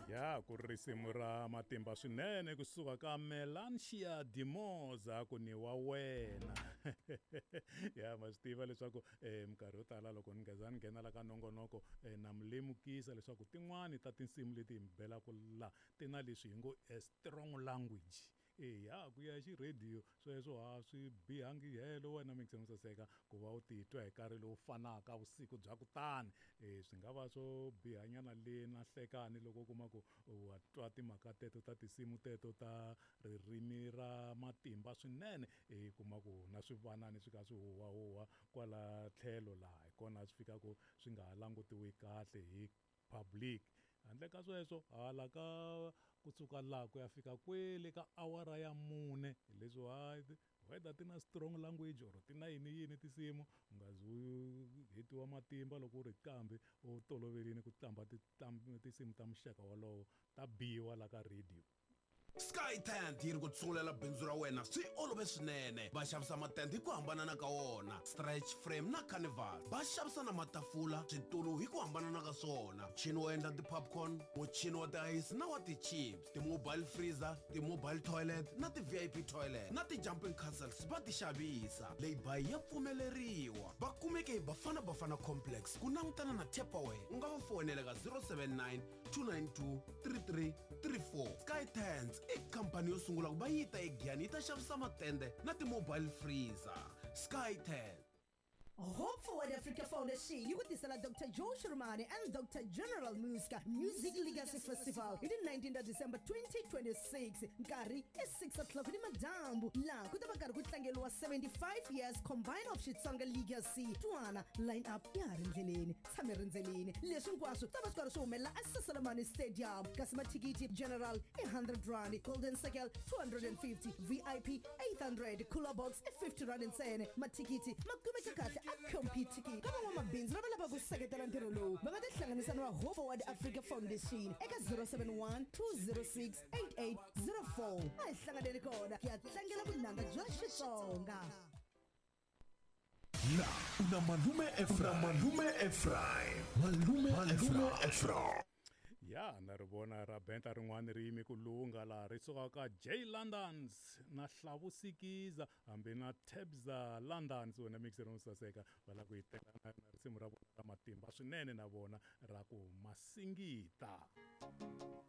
Ya ku ri risimu ra matimba swinene kusuka ka Melantia Dimoza ku ni wa wena. Ya ma swi tiva leswaku minkarhi yo tala loko ni ngeza ni nghena la ka nongonoko na mi lemukisa leswaku tin'wani ta tinsimu leti hi mi belaka la ti na leswi hi ngo a strong language. Eya ku ya hi xirhediyo sweswo a swi bihangi helo wena mingiseni saseka ku va u titwa hi nkarhi lowu fanaka vusiku bya kutani swi nga va swo bihanyana le na nhlekani loko u kuma ku wa twa timhaka teto ta tinsimu teto ta ririmi ra matimba swinene i kuma ku na swivanani swi kha swi huwahuwa kwala tlhelo laha hi kona swi fikaku swi nga ha langutiwi kahle hi public handle ka sweswo hala ka kusuka laha ku ya fika kwele ka awara ya mune hi leswi hayi whether ti na strong language or ti na yini yini tinsimu u nga zi u hetiwa matimba loko u ri qambi u toloverile ku qamba tinsimu ta muxaka wolowo ta biwa la ka radio. Sky Tent yi ri ku tsungulela bindzu ra wena swi olove swinene. Va xavisa matende hi ku hambanana ka wona, stretch frame na carnival. Va xavisa na matafula, switulu hi ku hambanana ka swona, muchini wo endla ti-popcorn, muchini wa tiayisi na wa ti-chips, ti-mobile freezer, ti-mobile toilet na ti-VIP toilet na ti-jumping castles va ti xavisa. Lay-by ya pfumeleriwa. Va kumeke hi Bafana Bafana Complex ku langutana na Tupperware. U nga va foyinela ka 079 292 3334. Sky Tents i khampani yo sungula ku va yi ta eGiyani yi ta xavisa matende na ti-mobile freezer. Sky Tent. Hope Forward Africa Foundation yi ku tisela Dr Joe Shirumani and Dr General Muska Music Legacy Festival hi ti 19 ta December 2026 nkarhi i 6 o'clock ni madyambu laha ku ta va karhi ku tlangeriwa 75 years combine of Xitsonga Legacy. Twana line up ya ha ri ndleleni, tshame rindzelini. Leswi hinkwaswo ta va swi karhi swi humelela eSaselamani Stadium, kasi mathikithi general i 100 rand, golden circle 250, VIP 800, cooler box i 50 rand ntsena. Mathikithi ma kumeka kahle a Computicket. Ka van'wamabindzu lava lavaka ku seketela ntirho lowu va nga tihlanganisa na Hope Forward Africa Foundation eka 071 206 8804. A hi hlanganeni kona hi ya tlangela vunanga bya Xitsonga. La una malume Ephraim. Malume Ephraim. Malume Ephraim. Ya na ri vona ra benta rin'wana ri yime ku lungha laha ri suka ka J Londons na Hlavusikiza hambi na Tabza Londons wena mixer no saseka va lava ku yi teka na risimu ra vona ra matimba swinene na vona ra ku masingita.